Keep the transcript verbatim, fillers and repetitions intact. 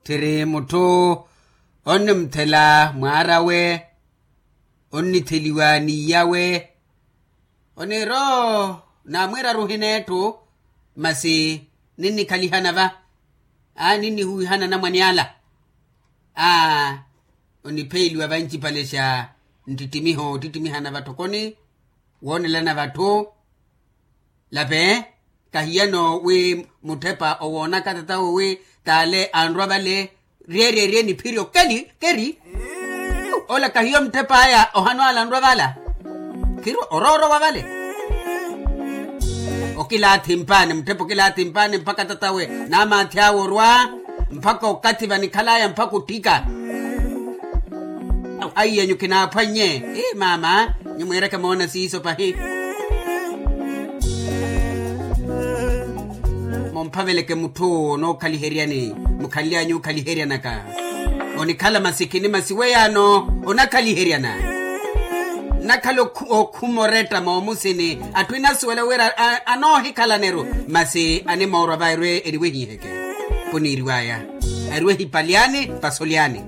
Tthiri mutthu onnimuthela mwaar'awe, onnitheliwa n'iyawe, oniiro naamwiiraru ohineetthu. Masi ninnikhalihana va, aa ninnihuwihana anamwane ala, aa onipheeliwa vancipale xa nttittimiho ottittimiha na vatthokoni, woonelana vatthu. Lape, kahiyano wi mutthepa owoonaka tatawe wi taale anrwa vale, ryeeryeerye niphiri okeli keri. Ola kahiyo mutthep'aya ohano ala anrwa vala, khirwa oroorowa vale. Okilaathi mpaani mutthepa okilaathi mpaani mpakha tatawe naamaathi awe orwa, mpakha okathi vanikhal'aya mpakha otthika. Aiyanyu kinaaphwannye. Ii maama, nyumwiireke moona siiso pahi. Mumphaveleke mutthu onookhaliheryani, mukhanly'anyu okhaliheriyanaka. Onikhala masi khini masi weyaano onakhaliheryana. Nnakhala okhuma oretta moomusini atthu enasuwela wira anoohikhalaneru, masi animoorwa va erwe eriwehiheke. Kuniiriw'aya, ariwehipalyani pasolyani.